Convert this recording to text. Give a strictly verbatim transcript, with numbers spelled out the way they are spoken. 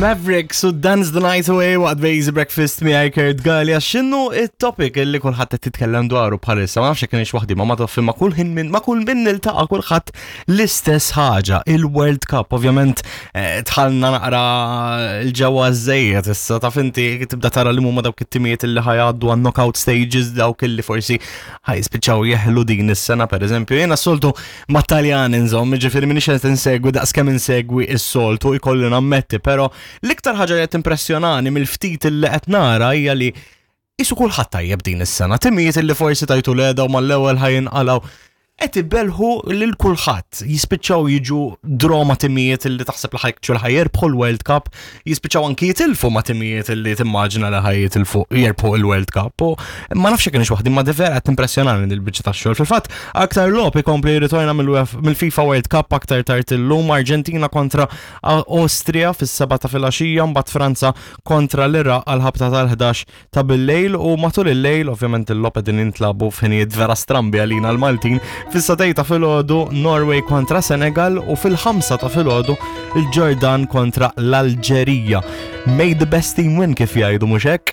Mavericks u Dance the Night Away waqt Basic Breakfast miegħi Kurt Gallia. X'inhu it-topic illi kulħadd qed titkellem dwaru bħalissa? Ma nafx jekk kienx waħdi, ma ma taf ma kull ħin minn ma kull min niltaqa' kulħadd l-istess ħaġa, il-World Cup. Ovvjament eh, dħalna naqra l-ġewwa żejjed issa, taf inti, tibda tara li huma dawk it-timijiet illi ħa jgħaddu għan knockout stages, dawk illi forsi ħa jispiċċaw jeħlu din is-sena, pereżempju. Jiena s-soltu ma' Taljan inżomm, ġifieri minix qed insegwi daqs kemm insegwi s-soltu, ikolli nammetti, però l-iktar ħaġa li qed impressjonani mill-ftit li qed nara hija li qisu kulħadd tajjeb din is-sena. Timijiet li forsi tajtu l-eda u mal-ewwel ħa jinqalgħu qed ibellhu lil kulħadd. Jispiċċaw jiġu draw ma' timijiet li taħseb li ħa jkċu li ħa jirbħu l-World Cup, jispiċċaw anki jitilfu ma' timijiet li timmaġina li ħa jitilfu jirbħu l-World Cup. U ma nafx kienx waħdi, ma vera qed impressjonani il-biċċa tax-xogħol. Fil-fatt, aktar logħob ikompli jirritorna mill-FIFA World Cup aktar tard illum: Argentina kontra Austria fis-seba ta' filgħaxija, mbagħad Franza kontra l-Iraq għal-ħabta tal-ħdax ta' bil-lejl, u matul il-lejl, ovvjament il-logħob qegħdin jintlagħbu f'ħinijiet vera strambi għalina l-Maltin, fis-sagħtejn ta' filgħodu Norway kontra Senegal u fil-ħamsa ta' filgħodu il-Ġordan kontra l-Alġerija. May the best team win, kif jgħidu, mhux hekk?